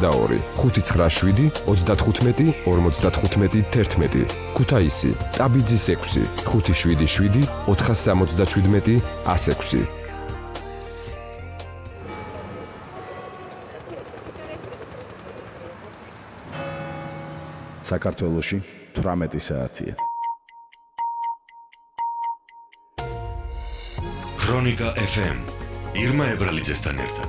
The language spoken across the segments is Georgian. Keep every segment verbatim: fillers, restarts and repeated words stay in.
ოცდაორი, ხუთი ცხრა შვიდი, ოცდათხუთმეტი, ორმოცდათხუთმეტი, თერთმეტი. ქუთაისი, ტაბიძის ექვსი, ხუთი შვიდი შვიდი, ოთხას სამოცდაშვიდმეტი, ას ექვსი. საქართველოში თვრამეტი საათია. ქრონიკა ეფ ემ ირმა ებრალიძესთან ერთად.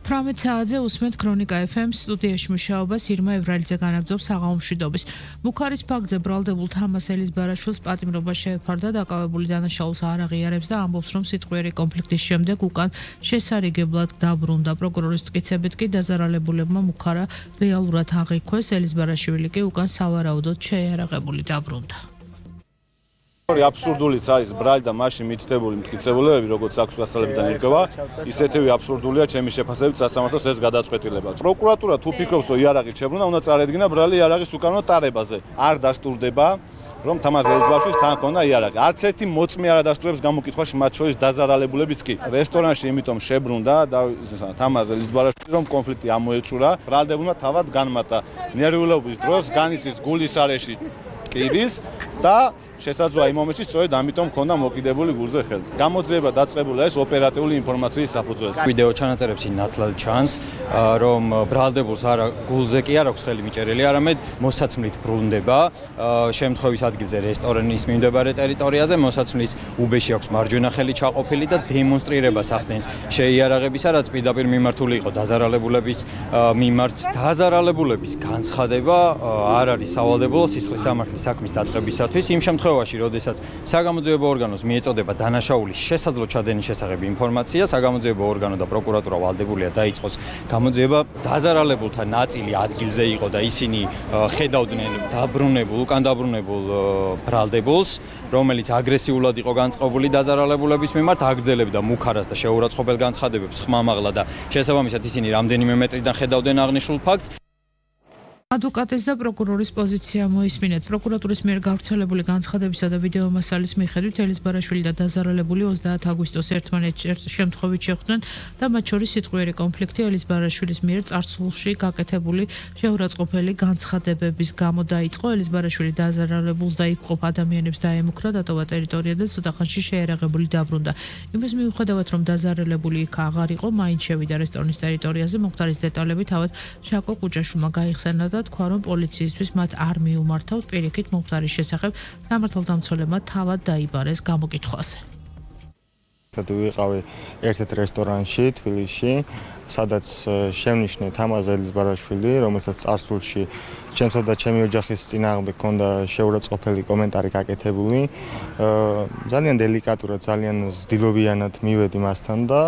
თვრამეტ საათზე უსმენთ ქრონიკა ეფ ემ-ს სტუდიაში მუშაობას ირმა ებრალიძე განაგრძობს საღამო მშვიდობის. ბუქარის ფაქტზე ბრალდებულ თამას ელიზბარაშვილს პატიმრობა შეეფარდა, დაკავებული დანაშაულს არ აღიარებს და ამბობს, რომ სიტყვიერი კონფლიქტის შემდეგ უკან შესარიგებლად დაბრუნდა. პროკურორის მტკიცებით კი დაზარალებულებმა მუქარა რეალურად აღიქვეს, ელიზბარაშვილი კი უკან სავარაუდოდ შეიარაღებული დაბრუნდა. აბსურდულიც არის ბრალი და მასში მითითებული მტკიცებულებები, როგორც აქვს გასალებიდან ირკვევა, ისეთივე აბსურდულია ჩემი შეფასებით სასამართლოს ეს გადაწყვეტილება. პროკურატურა თუ ფიქრობს, რომ იარაღით შებრუნდა, უნდა წარედგინა ბრალი იარაღის უკანონო ტარებაზე. არ დასტურდება, რომ თამაზ ელიზბარაშვილს თან ჰქონდა იარაღი. არც ერთი მოწმე არ ადასტურებს გამოკითხვაში, მათ შორის დაზარალებულებიც კი. რესტორანში იმიტომ შებრუნდა და თამაზ ელიზბარაშვილი, რომ კონფლიქტი ამოეწურა, ბრალდებულმა თავად განმარტა. ნერვიულობის დროს განიცდის გულის არეში კიბის და შესაძლოა იმ მომენტში სწორედ ამიტომ მქონდა მოკიდებული გულზე ხელი. გამოძიება დაწყებულა ეს ოპერატიული ინფორმაციის საფუძველზე. ვიდეო ჩანაწერებში ნათლად ჩანს, რომ ბრალდებულს არა გულზე კი არ აქვს ხელი მიჭერილი, არამედ მოსაცმლით ბრუნდება შემთხვევის ადგილზე რესტორანის მიმდებარე ტერიტორიაზე, მოსაცმლის უბეში აქვს მარჯვენა ხელი ჩაყოფილი და დემონსტრირებას ახდენს შეიარაღებისა, რაც პირდაპირ მიმართული იყო დაზარალებულების მიმართ. დაზარალებულების განცხადება არ არის სავალდებულო სისხლის სამართლის საქმის დაწყებისათვის, იმ შემთხვევაში როდესაც საგამოძიებო ორგანოს მიეწოდება დანაშაულის შესაძლო ჩადენის შესახებ ინფორმაცია, საგამოძიებო ორგანო და პროკურატურა ვალდებულია დაიწყოს გამოძიება. დაზარალებულთა ნაწილი ადგილზე იყო და ისინი ხედავდნენ დაბრუნებულ, უკან დაბრუნებულ ბრალდებულს, რომელიც აგრესიულად იყო განწყობილი დაზარალებულების მიმართ, აგრძელებდა მუქარას და შეურაცხყოფელ განცხადებებს ხმამაღლა და შესაბამისად ისინი რამდენიმე მეტრიდან ხედავდნენ აღნიშნულ ფაქტს. ადვოკატის და პროკურორის პოზიცია მოისმინეთ. პროკურატურის მიერ გავრცელებული განცხადებისა და ვიდეო მასალის მიხედვით ელიზბარაშვილი და დაზარალებული ოცდაათი აგვისტოს ერთმანეთს შემთხვევით შეხვდნენ და მათ შორის სიტყვიერი კონფლიქტი ელიზბარაშვილის მიერ წარსულში გაკეთებული შეურაცხყოფელი განცხადებების გამო დაიწყო. ელიზბარაშვილი დაზარალებულს და იქ მყოფ ადამიანებს დაემუქრა, დატოვა ტერიტორია და ცოტახანში შეიარაღებული დაბრუნდა. იმის მიუხედავად, რომ დაზარალებული იქ აღარ იყო, მაინც შევიდა რესტორნის ტერიტორიაზე. მოხდარის დეტალები თავად შაკო კუჭაშვილმა გაიხსენა და თქვა, რომ პოლიციისთვის მათ არ მიუმართავთ. პირიქით მოხდარის შესახებ სამართალდამცველებმა თავად დაიბარეს გამოკითხვაზე. ვიყავი ერთ-ერთ რესტორანში თბილისში, სადაც შევნიშნე თამაზ ელიზბარაშვილი, რომელსაც წარსულში ჩემსა და ჩემი ოჯახის წინააღმდეგ ჰქონდა შეურაცხყოფელი კომენტარი გაკეთებული. ძალიან დელიკატურად, ძალიან ზდილობიანად მივედი მასთან და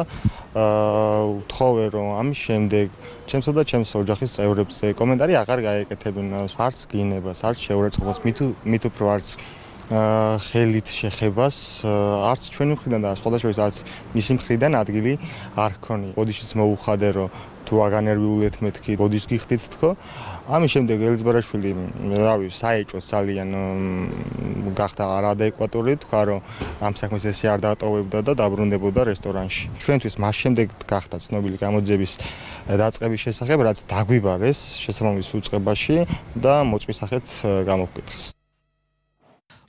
ვთხოვე, რომ ამის შემდეგ ჩემსა და ჩემს ოჯახის წევრებს კომენტარი აღარ გაეკეთებინ, არც გინებას, არც შეურაცხყოფას, მით უფრო არც ხელით შეხებას, არც ჩვენი მხრიდან და სხვადასხვა არც მისი მხრიდან ადგილი არ ჰქონია. ბოდიშიც მოუხადე, რომ თუ აგანერვიულეთ მეთქი, ბოდიშს გიხდით თქო. ამის შემდეგ ელიზბარაშვილი, რავი, საეჭვოდ ძალიან გახდა არადეკვატური, თქვა, რომ ამ საქმეს ესე არ დატოვებდა და დაბრუნდებოდა რესტორანში. ჩვენთვის მას შემდეგ გახდა ცნობილი გამოძიების დაწყების შესახებ, რაც დაგვიბარეს შესაბამის უწყებაში და მოწმის სახით გამოვკვეთეს.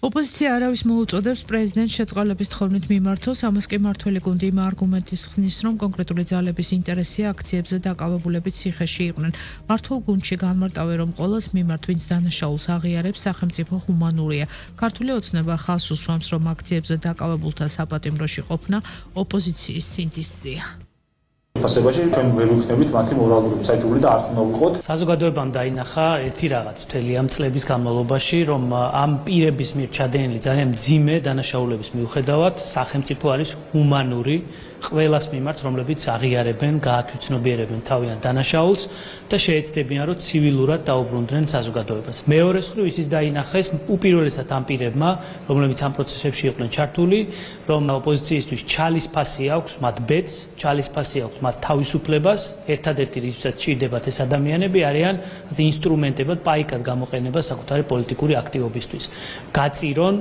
ოპოზიცია არავის მოუწოდებს პრეზიდენტს შეწყალების თხოვნით მიმართოს, ამას კი მართველი გუნდი იმ არგუმენტის ხსნის, რომ კონკრეტული ძალების ინტერესია აქციებზე დაკავებულებით ციხეში იყვნენ. მართულ გუნდში განმარტავენ, რომ ყოველს მიმართ, ვინც დანაშაულს აღიარებს, სახელმწიფო ჰუმანურია. ქართული ოცნება ხაზს უსვამს, რომ აქციებზე დაკავებულთა საპატიმროში ყოფნა ოპოზიციის სინდისზეა. ფასებაში ჩვენ ვერ ვიქნებით მათი მორალური მსაჯული და არც უნდა ვიყოთ. საზოგადოებამ დაინახა ერთი რაღაც მთელი ამ წლების განმავლობაში, რომ ამ პირების მიერ ჩადენილი ძალიან მძიმე დანაშაულების მიუხედავად სახელმწიფო არის ჰუმანური ყველას მიმართ, რომლებიც აღიარებენ, გაათვითცნობიერებენ თავიანთ დანაშაულს და შეეცდებიან, რომ ცივილურად დაუბრუნდნენ საზოგადოებას. მეორე მხრივ ისიც დაინახეს უპირველესად ამ პირებმა, რომლებიც ამ პროცესებში იყვნენ ჩართული, რომ ოპოზიციისთვის ჩალის ფასი აქვს, მათ ბედს, ჩალის ფასი აქვს მათ თავისუფლებას, ერთადერთი რისთვისაც ჭირდებათ ეს ადამიანები არიან ინსტრუმენტებად, პაიკად გამოყენება საკუთარი პოლიტიკური აქტივობისთვის. გაწირონ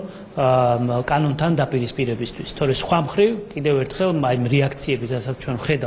კანონთან დაპირისპირებისთვის. თორე სხვა მხრივ კიდევ ერთხელ აი რეაქციები, რასაც ჩვენ ხედავთ